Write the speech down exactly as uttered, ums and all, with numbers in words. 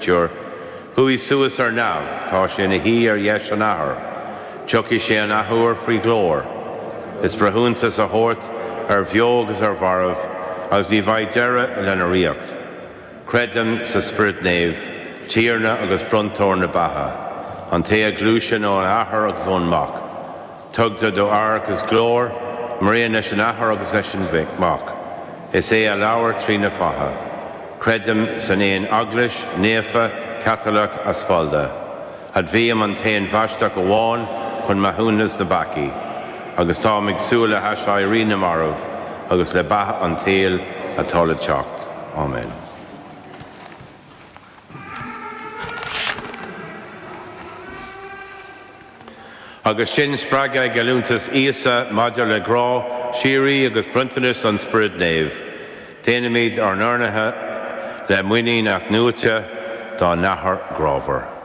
Chuaigh suas ar neamh, tá sé ina shuí ar dheis an Athar, Tiocfaidh sé an athuair faoi ghlóir, is breithiúnas a thabhairt ar bheo agus ar mhairbh, agus ní bheidh deireadh lena ríocht. Creidim sa Spiorad Naomh, Tiarna agus bronntóir na beatha, an té a ghluaiseann ón Athair agus ón Mac. Tugtar dó adhradh agus glóir, mar aon leis an Athair agus leis an Mac. Is é a labhair trí na fáithe. Creidim san aon eaglais, naofa, Caitliceach aspalda. Admhaím an t-aon bhaisteadh amháin chun maithiúnas na bpeacaí, agus táim ag súil le haiséirí na marbh agus le beatha an tsaoil atá le teacht. Amen. Agus sinn spreagtha ag geallúntas Íosa maidir le grá, síoraí agus bronntanas an Spioraid Naoimh, déanaimid ár n-urnaithe le muinín athnuaite dár nAthair grámhar.